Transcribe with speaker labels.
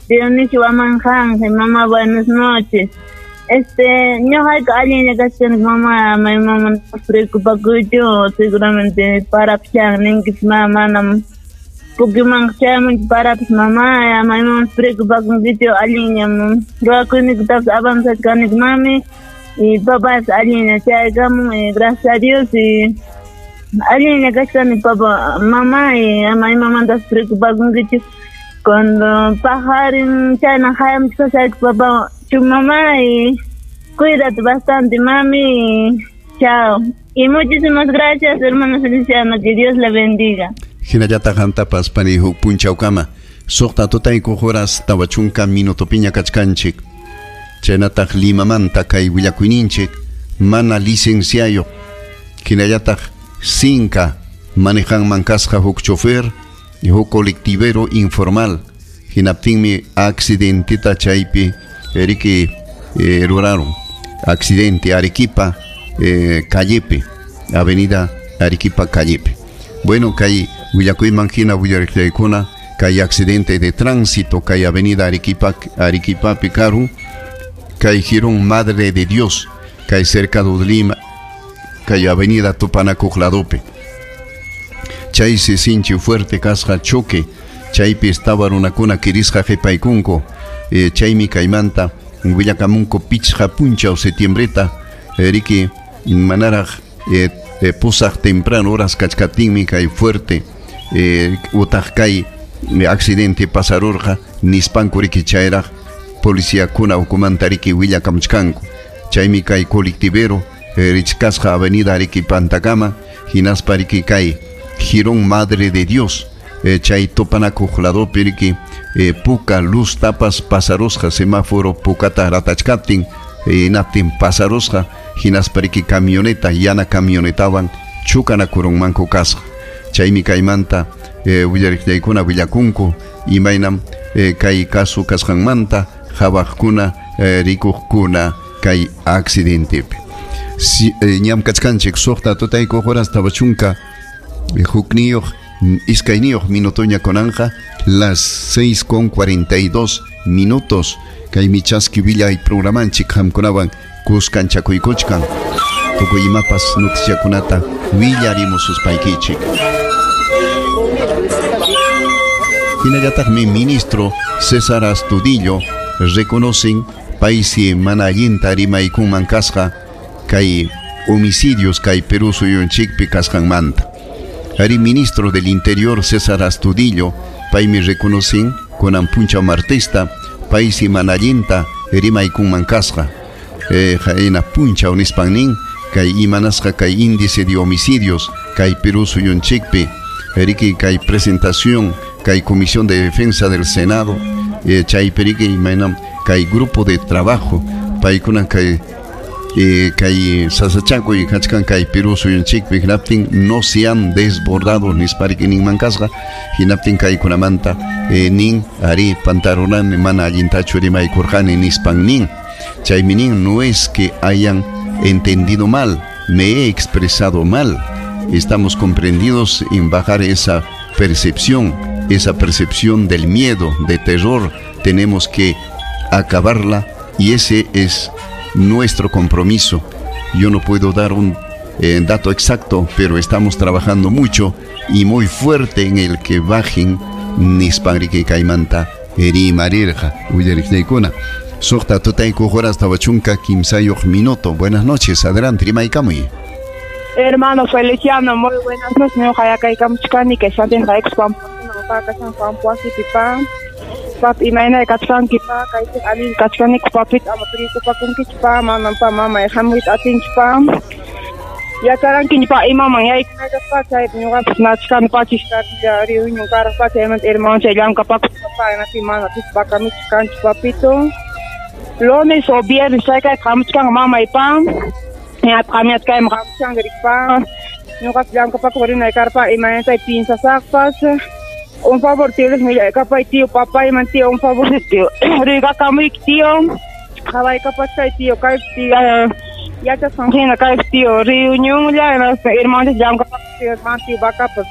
Speaker 1: Dionisio Amanjanje, mamá, buenas noches. Ñuqayku allinlla kachkani, mamá, mamá, no preocupakuychu, seguramente parapis ninkis, ma, manam pukyumanqa chayamunchu parapis, mamá, ama imamantas preocupakunkichu, allinllam ruwakuynikutapas avanzachkaniku, mami, y papas allinlla chayakamun, y gracias a Dios, y allinlla kachkani, papá, mamá, y ama imamantas preocupakunkichu. Cuando pajarin chayna hayamuchkasayku, papá, tu mamá, y cuídate bastante, mami, y chao. Y muchísimas gracias, hermano Feliciano, que Dios le bendiga.
Speaker 2: Hinallataq qamtapas pani huk punchawkama suqta tutayku horas 40 minutopiña kachkanchik. Chaynataq Limamanta kay willakuyninchik mana licenciayuq hinallataq sinka manejanman kasqa huk chofer y huk colectivero informal hinaptinmi accidentita chaypi riki ruraron accidente Arequipa callepi, avenida Arequipa callepi. Bueno, kay willakuyman hina willariqllaykuna kay accidente de tránsito kay avenida Arequipa Arequipapi karun kay jirón Madre de Dios kay cerca de Lima kay avenida Tupanakuq ladopi. Chaysi sinchi fuerte kasqa choque chaypi estaba runakuna kirisqa qhipaykunku chaymi kaymanta willakamunku pichqa punchaw septiembreta riki manaraq pusaq temprano horas kachkaptinmi kay fuerte utaq kay accidente pasarurqa nispanku riki chayraq policíakuna ukumanta riki willakamuchkanku chaymi kay colectivero richkasqa avenida Arequipantakama hinaspa riki kay Jirón Madre de Dios chay tupanakuq ladopi riki puka luz tapas pasarusqa semáforo pukata ratachkaptin hinaptin pasarusqa hinaspa riki camioneta yana camionetawan chukanakurunmanku kasqa chaymi kaymanta willariqllaykuna willakunku imaynam kay caso kasqanmanta hawaqkuna rikuqkuna kay accidentepi. Si, ñam kachkanchik suqta tutayku horas 40 hukniyuq iskayniyuq minutoña kunanqa las 6:42 minutos kaymi chaski willay programanchik qamkunawan kuskanchakuykuchkan tukuy imapas noticiakunata willarimususpaykichik. Hinallataqmi ministro César Astudillo reconocen paysi mana allinta rimaykunman kasqa kay homicidios kay Perú suyunchikpi kasqanmanta. Ari ministro del Interior César Astudillo paymi reconocen kunan punchaw martista paysi mana allinta rimaykunman kasqa qayna punchaw nispan nin kay imanasqa kay índice de homicidios kay Perú suyunchikpi riki kay presentación kay Comisión de Defensa del Senado chaypi riki imaynam kay grupo de trabajo paykuna kay kay sasachakuy kachkan kay Perú suyunchikpi hinaptin no se han desbordado nispa riki ninman kasqa hinaptin kaykunamanta nin ari pantarunani mana allintachu rimaykurqani nispan nin chaymi nin no es que hayan entendido mal, me he expresado mal, estamos comprendidos en bajar esa percepción del miedo, de terror, tenemos que acabarla y ese es nuestro compromiso. Yo no puedo dar un dato exacto, pero estamos trabajando mucho y muy fuerte en el que bajen nispan riki kaymanta rimarirqa willariqllaykuna. Suqta tutayku horas 43 minuto. Buenas noches, adelante, rimaykamuy.
Speaker 3: Hermano Feliciano, muy buenas noches. Ñuqa yakaykamuchkani kay Santiago Pampa Pampuasipi pa. Pap imayna kachkanki pa, kaypi allin kachkaniku papita ama preocupakunkichu pa, manam pa mamay hamuyta atinchu pa. Yacharankiña pa imaman yaykunaytas pa, chaypi ñuqapas nachkani pachishkarilla reunión karaq pa, chaymanta hermano chay llamkapakuspa pa, hinaptin mana pis kanchu papito. Lunes o viernes chaykayta hamuchkanqa mamay pa. Ñataq qamñataq hamuchkanqa riki pa. Ñuqapas llamkapakuq rinay karpa imaynatay piensasaqpas. Un favor, tío, les mira, capaz tío, papá y man tío, un favor, tío. Riga kamuyki tío. Jaway capaz kay tío, kay tío, yachasqan hina kay tío, reunión ya, hermanos llamkapakuq tío, man tío, vacapas.